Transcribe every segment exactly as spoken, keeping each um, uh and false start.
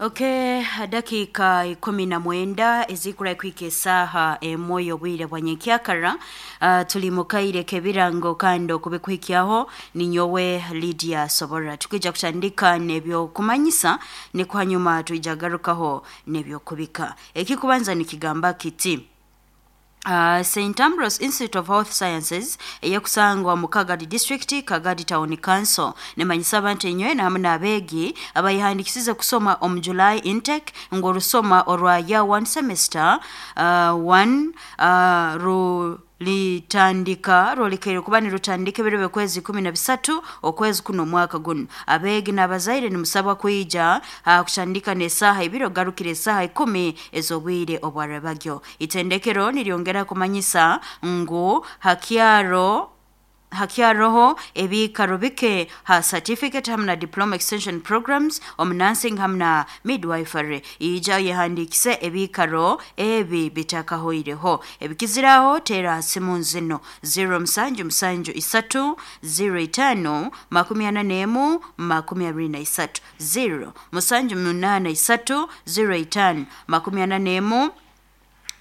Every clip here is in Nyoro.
Okay, dakika ikumi na mwenda ezikura kwika esaha emwe y'obwire bwa nyenkyakara. uh, tuli mukaire kebirango kandi okubikuhikyaho ninyowe Lydia Sobora. Tukija kutandika n'ebyokumanyisa, nikwo hanyuma twija garukaho n'ebyokubika. Ekikubanza nikigamba kiti: Uh, Saint Ambrose Institute of Health Sciences eyekusangwa mu Kagadi District, Kagadi Town Council, nemanyisa abantu enywe hamu n'abeegi abayihandikisize kusoma omu July intake ngu orusoma orwa year one semester uh, one uh, ru litandika rwolekere kuba nirutandika ebiro by'okwezi ikumi na bisatu okwezi kuno omwaka guno. Abeegi n'abazaire nimusabwa kwija uh, kutandika n'esaaha ibiri ogarukira esaaha ikumi ez'obwire obwarabagyo. Itendekero niryongera kumanyisa ngu hakyaro hakyaroho ebiikaro bike ha certificate hamu na diploma extension programs omu nursing hamu na midwifery. Ija yehandikise ebiikaro ebi bitakahoireho. Ebikiziraho teera ha simu zino: zero musanju musanju isatu zero itano makumi ana n'emu makumi abiri na isatu, zero musanju munaana isatu zero itano makumi ana n'emu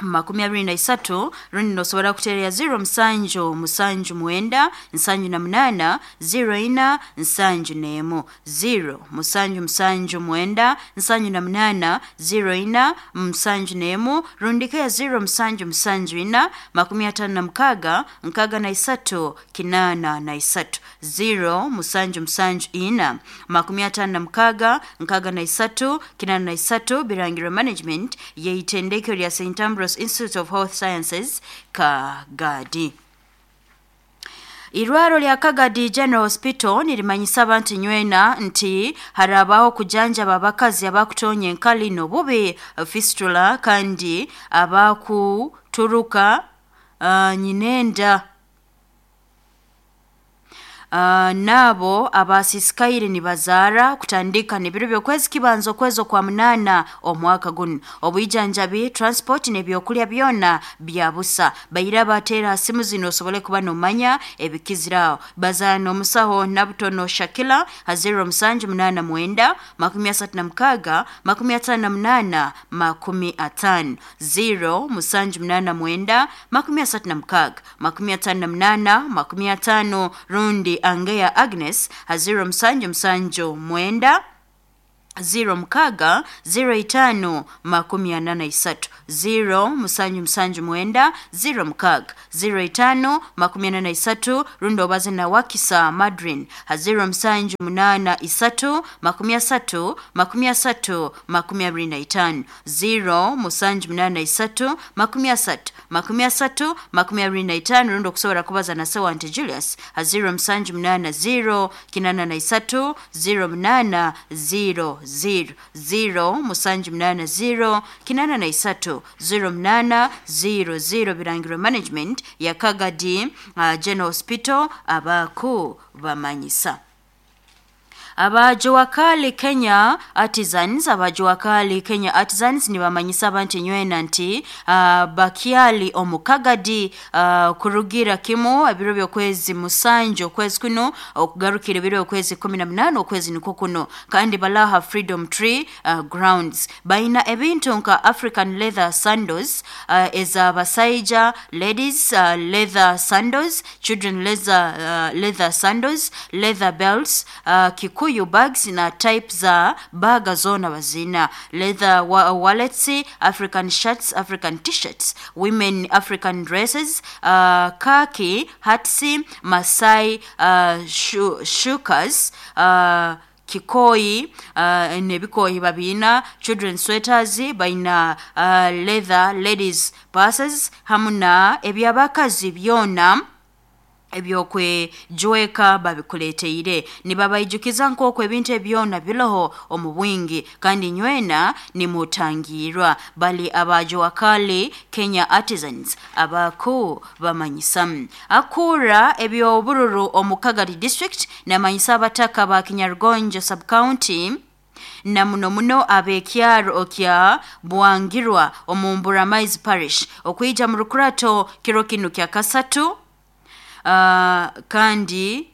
makumi abiri na isatu, rundi nosobora kuteera zero musanju musanju mwenda nsanju na munaana zero ina nsanju n'emu, zero musanju musanju mwenda nsanju na munaana zero ina musanju n'emu, rundika ya zero musanju musanju ina makumi atano na mukaaga nkaaga na isatu kinaana na isatu, zero musanju musanju ina makumi atano na mukaaga nkaaga na isatu kinaana na isatu. Birangirwe management yeitendekero lya Saint Ambrose Institute of Health Sciences, Kagadi. Irwaro lya Kagadi General Hospital nirimanyisa abantu nywena nti harabaho kujanjaba abakazi abakutonya enkali n'obubi, fistula, kandi abakuturuka uh, nyinenda, Uh, nabo abasisikaire nibazaara kutandika n'ebiro by'okwezi kibanza okwezi okwa munaana omwaka guno. Obwijanjabi, transport n'ebyokulya byona bya busa. Baira bateera ha simu zino osobole kuba nomanya ebikiziraho. Bazaana omusaho Nabutono Shakila ha zero musanju munaana mwenda makumi asatu na mukaaga makumi ataano na munaana makumi ataano, zero musanju munaana mwenda makumi asatu na mukaaga makumi ataano na munaana makumi ataano, rundi Angeya Agnes ha zero musanju musanju mwenda zero mukaaga zero itano makumi ana na isatu, zero musanju musanju mwenda zero mukaaga zero itano makumi ana na isatu, rundi obaze na Wakisa Madrin ha zero musanju munaana isatu makumi asatu makumi asatu makumi abiri na itano, zero musanju munaana isatu makumi asatu makumi asatu makumi abiri na itano, rundi okusobora kubaza na Sewante Julius ha zero musanju munaana zero kinana na isatu zero munaana zero zero, zero musanju munaana zero kinana na isatu zero munaana zero zero. Birangirwe management ya Kagadi uh, General Hospital abaku bamanyisa. Abajuwakali Kenya Artisans, abajuwakali Kenya Artisans nibamanyisa abantu nywena nti uh, bakyali omukagadi uh, kurugira kimu ebiro by'okwezi musanju okwezi kuno okugarukira ebiro by'okwezi kumi na munaana okwezi nikwo kuno, kandi balaha Freedom Tree uh, grounds. Baina ebintu nka African leather sandals uh, ez'abasaija, ladies uh, leather sandals, children leather, uh, leather sandals, leather belts, uh, Kikuyu bags na type za baga zona bazina, leather wa wallets, African shirts, African t-shirts, women African dresses, uh, khaki hats, Masai uh, shu shukas, uh, kikoyi uh, nebikoyi babina, children sweaters baina, uh, leather ladies purses hamu na ebyabakazi byona ebyokwejweka babikuleteire. Nibabaijukiza nk'oku ebintu ebyona biroho omu bwingi kandi nywena nimutangirwa. Bali abajuwakali Kenya Artisans abaku bamanyisamu. Akura ebyobururu omu Kagadi District namanyisa abataka ba Kinyarugonjo Sub-County na muno muno ab'ekyaro kya Bwangirwa omu Mburamaizi Parish okwija mu rukurato kiro kinu kya kasatu, uh, kandi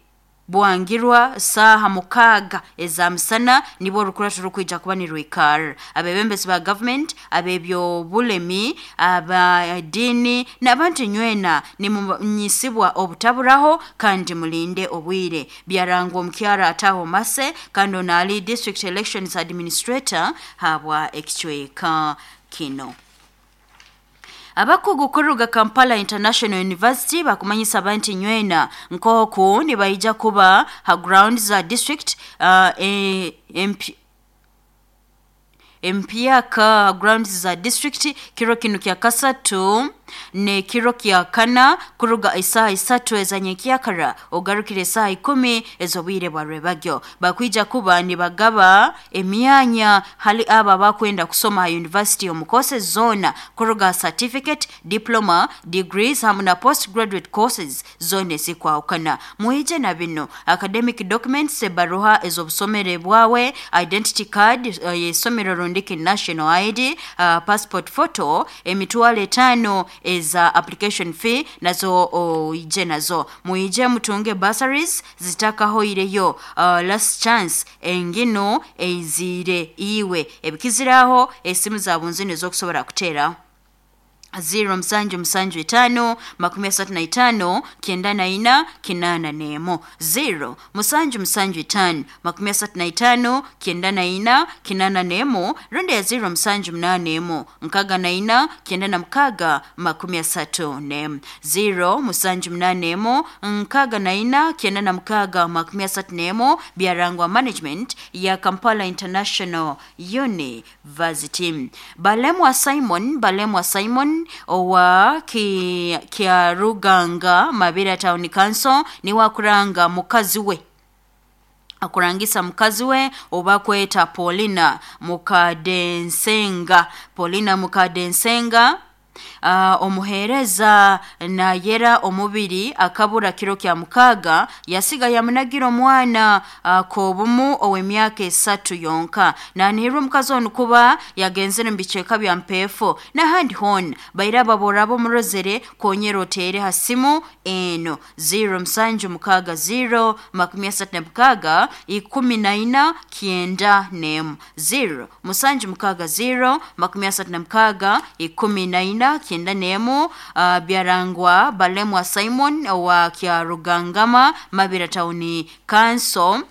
Bwangirwa saha mukaga eza musana nibwo orukurato rukwija kuba nirwikara. Abebembezi ba government, abebyobulemi, abadini n'abantu nywena nimunyisibwa obutaburaho kandi mulinde obwire. Byarangwa omukyara Ataho Mase kandi ono ali district elections administrator habwa ekicweka kino. Abakugu kuruga Kampala International University bakumanyisa abantu nywena nkoku nibaija kuba ha grounds za district uh, e, M P, empyaka grounds za district kiro kinu kya kasatu ne kiro kya kana kuruga isaha isatu ezanyekyakara ogarukire isaha ikumi ez'obwire bwa rwebagyo. Bakwija kuba nibagaba emyanya hali aba bakwenda kusoma ha university omu courses zona kuruga certificate, diploma, degrees hamu na postgraduate courses zona ezikwahukana. Mwije na bino: academic documents, ebaruha ez'obusomere bwawe, identity card y'isomero rundiki national I D, uh, passport photo, emitwalo etaano eza application fee nazo oije nazo. Muije mutunge bursaries zitakahoireyo. uh, last chance engino eizire iwe. Ebikiziraho esimu zabunzini ezokusobora kuteera zero musanju musanju itaano makumi asatu na itaano kyenda na ina kinaana n'emu, zero musanju musanju itaano makumi asatu na itaano kyenda na ina kinaana n'emu, rundi ya zero musanju munaana emu nkaaga na ina kyenda na mukaaga makumi asatu n'emu, zero musanju munaana emu nkaaga na ina kyenda na mukaaga makumi asatu n'emu. Byarangwa management ya Kampala International University. Balemwa Simon, Balemwa Simon owa ki, Kyaruganga Mabira Town Council niwe akuranga mukazi we, akurangisa mukazi we oba kweta Paulina Mukadensenga, Paulina Mukadensenga, uh, omuheereza nayera omubiri akabura kiro kya mukaaga yasiga yamunagira omwana uh, kobumu ow'emyaka esatu yonka. Nanihirwa omukazi onu kuba yagenzere mu bicweka bya Mpeefo n'ahandi hoona. Baire ababora ab'omurozere konyera oteere ha simu eno zero musanju mukaaga zero makumi asatu na mukaaga ikumi na ina kyenda n'emu, zero musanju mukaaga zero makumi asatu na mukaaga ikumi na ina kyenda n'emu. uh, byarangwa Balemwa Simon owa Kyarugangama Mabira Town Council.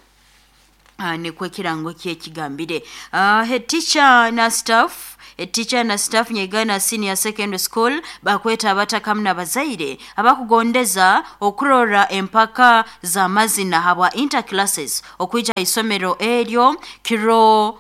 uh, nikwo ekirango kyekigambire. uh, head teacher na staff, teacher na staff Nyegana Senior Secondary School bakweta abatakamu n'abazaire abakugondeza okurora empaka za mazina habwa interclasses okwija isomero eryo kiro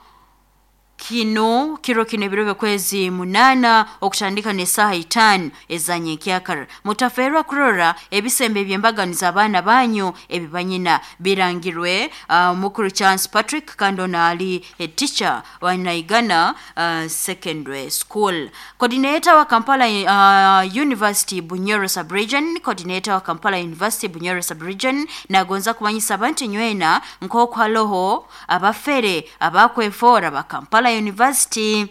kino kiro kino ebiro byokwezi munana okutandika n'esaaha itaano ezanyenkyakara. Mutaferwa kurora ebisembe ebyembaganiza abaana banyu ebibanyina. Birangirwe uh, mukuru Chance Patrick kandi ono ali teacher wa Naigana uh, Secondary School. Coordinator wa Kampala uh, University Bunyoro Sub-Region, coordinator wa Kampala University Bunyoro Sub-Region nagonza kumanyisa abantu nywena nk'oku haloho abafere abakwefora ba Kampala University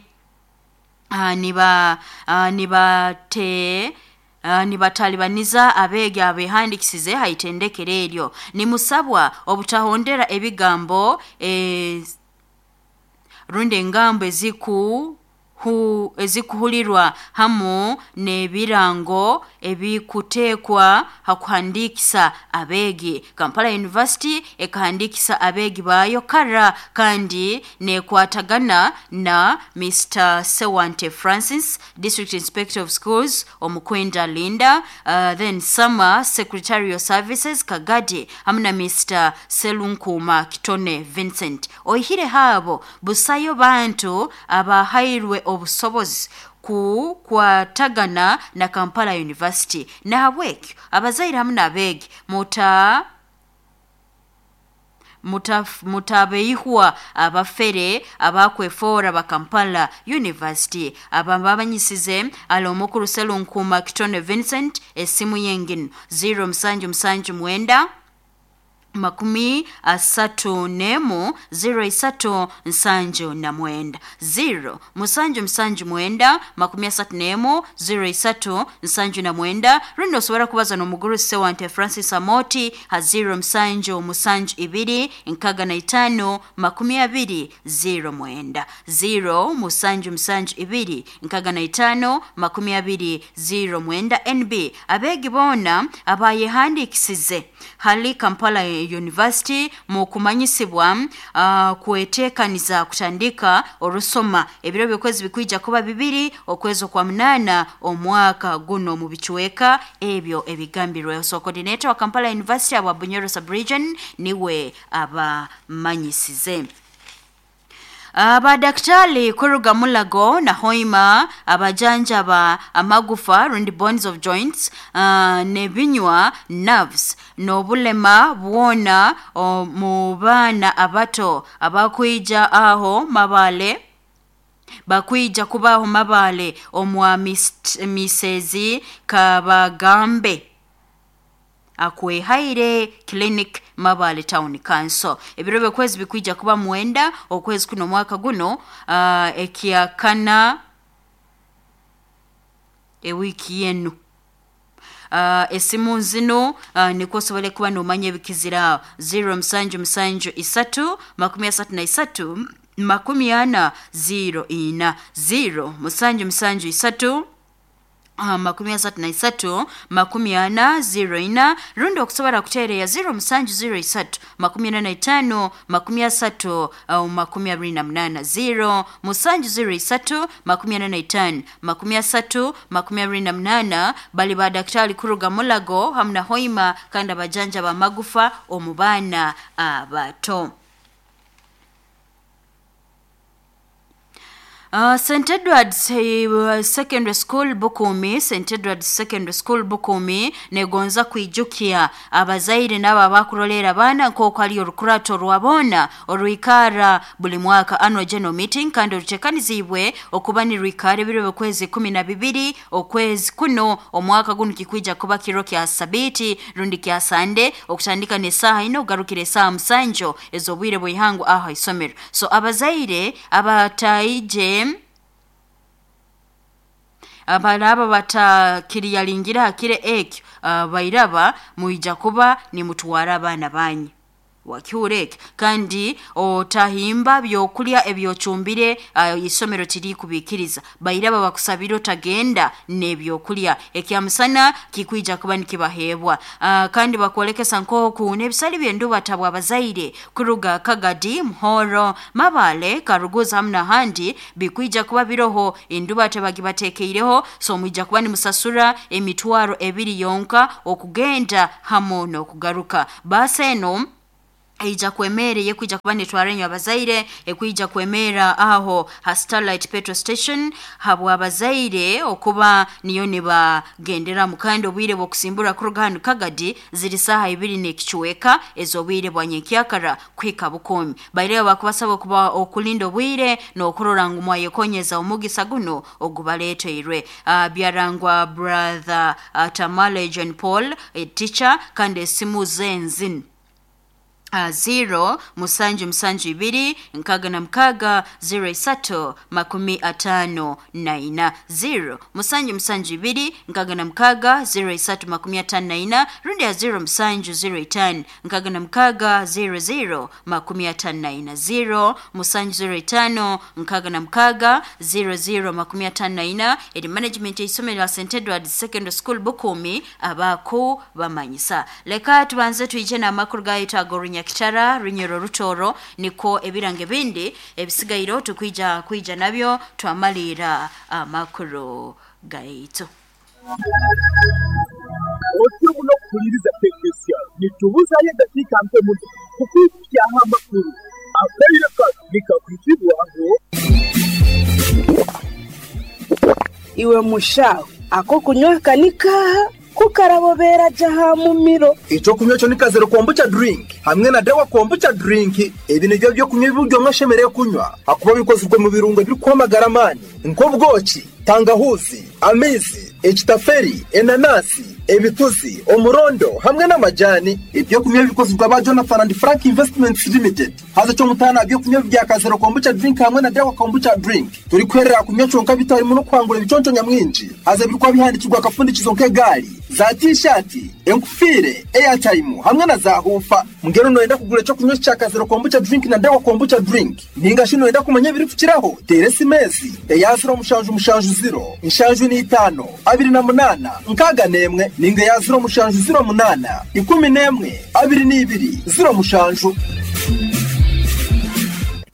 uh, niba uh, nibate Uh, nibatalibaniza abeegi abehandikisize haitendekero eryo. Nimusabwa obutahondera ebigambo eh, rundi engambo eziku hu ezikuhulirwa hamu n'ebirango ebikuteekwa hakuhandikisa abeegi. Kampala University ekahandikisa abeegi baayo kara kandi nekwatagana na Mister Sewante Francis, District Inspector of Schools Omukwenda Linda, uh, then Summer Secretarial Services Kagadi hamu na Mister Selunkuma Kitone Vincent. Oihire haabo busayo bantu abahairwe obusobozi kukwatagana na Kampala University. Nahabwekyo abazaire hamu n'abeegi muta mutabeihwa abafere abakwefora ba Kampala University. Ababanyisize ali omukuru Selunkuma Kitone Vincent, esimu yengino zero musanju musanju mwenda makumi asatu nemu zero isatu nsanju na mwenda zero musanju musanju mwenda makumi asatu nemu zero isatu nsanju na mwenda. Rundi osobora kubaza n'omuguru Sewante Francis Amoti ha zero musanju musanju ibiri nkaga na itano makumi abiri zero mwenda zero musanju musanju ibiri nkaga na itano makumi abiri zero mwenda. N B abegi bona abayehandikisize hali Kampala University mu kumanyisibwa uh, kuetekaniza kutandika orusoma ebiro byokwezi bikuija kuba bibiri okwezi kwa munana omwaka guno mu bichweka ebyo ebigambirwe. So coordinator wa Kampala University aba Bunyoro sub-region niwe abamanyisize. Abadaktari kuruga Mulago na Hoima abajanjaba amagufa rundi bones of joints uh, nebinywa nerves nobulema bwona mu bana abato abakwija aho mabale bakwija kubaho mabale omwa misezi kabagambe akwehaire clinic Mabale Town Council. Ebiro byokwezi bikuija kuba mwenda okwezi kuno mwaka guno uh, ekiakana ewiki yenu. Uh, esimu zino uh, nikosobole kuba nomanya ebikizira zero musanju musanju isatu makumi asatu na isatu makumi ana zero ina zero musanju musanju isatu Uh, makumi asatu na isatu makumi ana zero ina. Rundi okusobora kutereya zero musanju zero isatu makumi ana na itano makumi asatu uh, makumi abiri na munana zero musanju zero isatu makumi ana na itano makumi asatu makumi abiri na munana. Bali ba daktari kuruga Mulago hamna Hoima kandi abajanja ba magufa omubana abato. Uh, Saint Edward's uh, Secondary School Bukumi, Saint Edward's Secondary School Bukumi negonza kwijukia abazaire nabo abakurolera abana nk'oku ali orukurato rwabona oruikara buli mwaka annual general meeting kandi orutekanizibwe okuba nirwikara ebiro by'okwezi kumi na bibiri okwezi kuno omwaka guno kikwija kuba kiro kya sabiti rundi kya sande okutandika n'esaaha ina ogarukira esaaha musanju ez'obwire bw'ihangu aha isomero. So abazaire abataije abalaba batakiriyalingira hakire ekyo uh, bairaba muija kuba ni mutwara abana banyu wakiureke kandi otahimba byokulya ebyochumbire uh, isomero tiri kubikiriza bairaba bakusabira otagenda nebyokulya ekyamusana kikuija kuba nikibahebwa. Uh, kandi bakolekesa nkoku nebisali byenduba tabwa abazaire kuruga Kagadi Muhoro Mabale Karuguza hamna handi bikuija kuba biroho enduba tabagibatekeireho. So muija kuba ni musasura emitwaro ebiri yonka okugenda hamo nokugaruka baseno ija kwemere yekuija kuba nitwarenyo abazaire ekuija kwemera aho ha Starlight Petrol Station habwa abazaire okuba niyo nibagendera mukando obwire bwokusimbura kuruga hanu Kagadi ziri saha ibiri n'ekichweka ezobwire bwa nyenkyakara kwika Bukomi. Baire bakubasaba kuba okulinda obwire n'okurora ngu mwayekonyeza omugisa guno ogubaleteirwe. Uh, byarangwa brother uh, Tamale John Paul a teacher kandi esimu zenzin Uh, zero musanju musanju ibiri nkaga na mkaga zero isatu makumi atano na ina zero musanju musanju ibiri nkaga na mkaga zero isatu makumi atano na ina rundi ya zero musanju zero itano nkaga na mkaga zero zero makumi atano na ina zero musanju zero itano nkaga na mkaga zero zero makumi atano na ina. Eri management isomero la Saint Edward Secondary School Bukumi abako bamanyisa. Leka tubanze tuije na amakuru gaitu agorunya Kitara Runyoro Rutoro niko ebirange bindi ebisigairo tukwija kwija nabyo twamalira amakuru gaitu. Otyo muno kuliriza tekesya nitubuzaye dakika mpe muno kukuikya amakuru akaire nikakwitibwaho iwe mushaho ako kunywa kanika kukarabobera jaha mumiro. Ico kunywa cyo nikazero kombucha drink hamwe na dawa kombucha drink. Ebi nivyo byo kunywa ibyo mwashemereye kunywa hakuba bikozwe mu birungo biri kwamagara mani nk'ubwoki, tangahuzi, amizi, ekitaferi, enanasi, Ebituzi, omurondo hamwe n'amajani. Ebyokunywa bikozirwa ba Jonathan and Frank Investments Limited. Haza cyo mutana ebyokunywa bya Kazero Kombucha Drink hamwe na Dawa Kombucha Drink. Turi kwerera kunywa conka bitarimo no kwangura ibiconco nyamwinji. Haza birikwa bihandikirwa akafundikizo nk'egali, za t-shirt, enkufire, airtime hamwe na za hufa. Mugero noyenda kugura cyo kunywa cya Kazero Kombucha Drink na Dawa Kombucha Drink. Ninga shino wenda kumanya biri kukiraho. Tere simesi eya zero mushanju mushanju zero inshanju ni itano abiri na munana nkaga nemwe ninga ya zero mushanju zero munana ikumi nemwe abiri n'ibiri zero mushanju.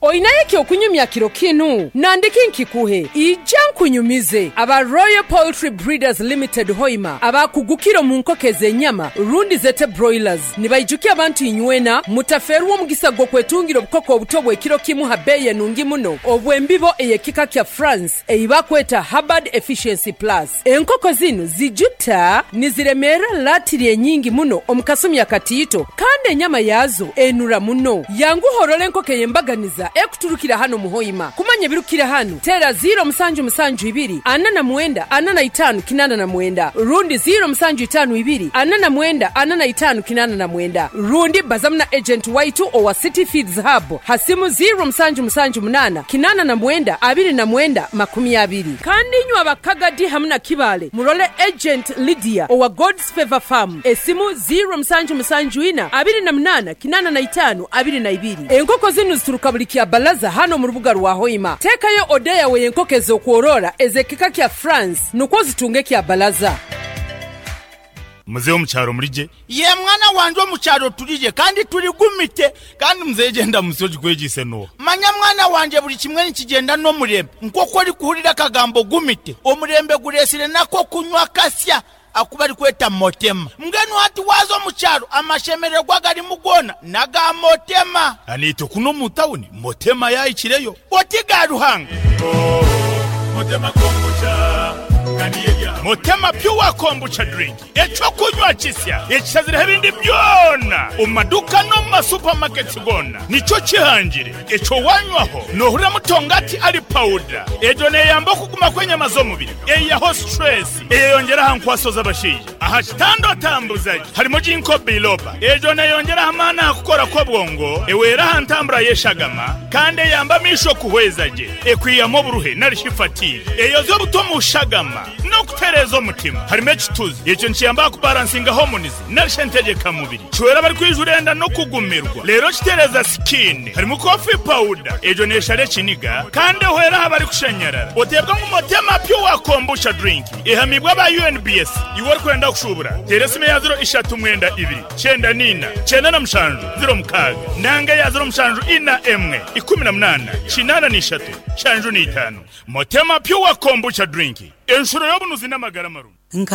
Oinaye okunyumya kiro kinu nandiki nkikuhe ija nkunyumize aba Royal Poultry Breeders Limited Hoima abakugukiro mu nkoko ez'enyama rundi zete broilers nibaijukia abantu inywena mutaferwa omugisa gw'okwetungira obukoko obuto bw'ekiro kimu ha beeyi enungi muno obw'embibo ey'ekika kya France eibakweta Hubbard Efficiency Plus. Enkoko zinu zijuta niziremera latiri enyingi muno omu kasumi akatiito kandi enyama yazo enura muno. Yanguhorora enkoko ey'embaganiza ekuturukira hano muhoima. Kumanya birukira hano tera zero musanju musanju ibiri ana na mwenda ana na itanu kinana na mwenda rundi zero musanju itanu ibiri ana na mwenda ana na itanu kinana na mwenda rundi bazamna agent waitu owa City Feeds Hub hasimu zero musanju musanju munana kinana na mwenda abiri na mwenda makumi abiri. Kandi nywa abakagadi hamna kibale murole agent Lydia owa God's Favor Farm esimu zero musanju musanju ina abiri na munana kinana na itanu abiri na ibiri. Enkoko zinu zituruka buli kya balaza hano mu rubuga rwa Hoima. Tekayo odeya we enkoko ez'okworora ezekika kya France nukwo zitunge kya balaza. Mzee omukyaro mulije ye mwana wanje omukyaro tulije kandi tuligumite kandi mzee genda musoji kwegise no manya mwana wanje buli kimwe nikigenda n'omurembe nk'oku ori kuhurira akagambo gumite omurembe guresire nako kunywa kasya akuba ari kweta motema mbwenu hati waza omukyaro amashemererwa garimu gona naga motema anito kuno mu tawuni motema yayikireyo oti ga Ruhanga oh, motema kombucha Motema Pure Kombucha Drink echo kunywa kisya ekisazira ebindi byona omumaduka no mu masupermarkets gona nico kihangire echo wanywaho nohurira mutongati ali powder ejo neyamba okuguma kw'enyama z'omubiri eyaho stress eyeyongera aha nkwaso z'abashaija aha kitando tambuzaji harimo ginkgo biloba ejo neyongera amaani aha kukora kw'obwongo ewera aha ntambura y'eshagama kandi eyamba amisho kuhweza gye ekwiyamu oburuhe narishi fatigue eyoza obuto mu shagama no kutereza omutima harimo ekituzi ekyo nkiyamba kubalansinga hormones narishe ntegeka mubiri kiwera bari kwijurenda no kugumirwa rero kitereza skin harimo coffee powder ejo neshare kiniga kandi ehwera aha bari kushanyarara otebwa mu Motema Pure Kombucha Drink ihamibwa ba U N B S iwe ori kwenda kushubura teresime ya zero ishatu mwenda ibiri cyenda nina cyenda na mushanju zero mukaga nanga ya zero mushanju ina emwe ikumi na munana kinana n'ishatu shanju n'itanu. Motema Pure Kombucha Drink enshuro y'obunuzi n'amagara marungi. Nka